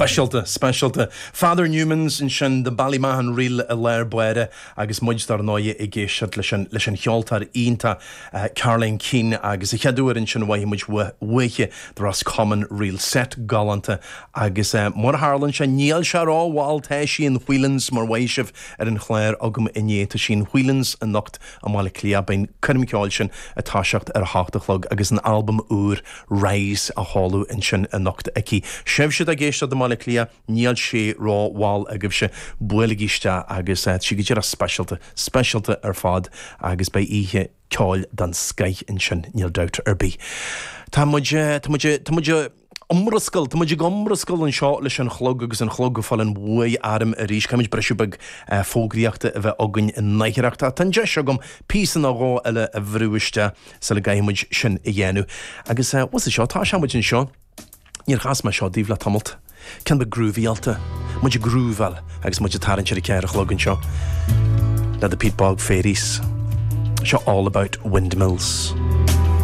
Speisialta, speisialta. Father Newmans ansin, The Ballymahon Reel i lár báire agus muid dar ndóigh ag éisteacht leis an leis an cheoltóir iontach Caroline Keane agus an chéad uair ansin a mhothaigh muid uaithi The Roscommon Reel set galánta agus mar a tharlaíonn sé níl sé ró-mhall tá sí in Whelan's mar mhaígh sibh ar an chlár agam inné tá sí in Whelan's anocht i mBaile Átha Cliath. Beidh an coirm ceoil sin ag toiseacht ar a hocht a chlog agus an albam úr Rise á sheoladh ansin anocht aici. Sibhse atá ag éisteacht i mBaile Átha Cliath, níl sé ró-mhall agaibhse, buailigí isteach agus tá sí go díreach speisialta, speisialta ar fad agus beidh oíche ceoil den scoith ansin, níl dabht ar bith. Tá muid, tá muid, tá muid iomrascáil, tá muid ag iomrascáil anseo leis an chlog agus an chlog ag fáil an bhuaidh orm arís. Caithfidh muid briseadh beag fógraíochta a bheith againn i ndáiríre. Tá an deis agam píosa nó dhó eile a bhrú isteach sula gcaithfidh muid sin a dhéanamh. Agus bhuel seo, tá sé muid anseo. Níor chas mé seo daoibh le tamalt. Ceann beag grúvaíálta. Muid ag grúbháil agus muid ag tarraingt ar a ceathair a chlog anseo le The Peat Bog Fairies. Seo All About Windmills.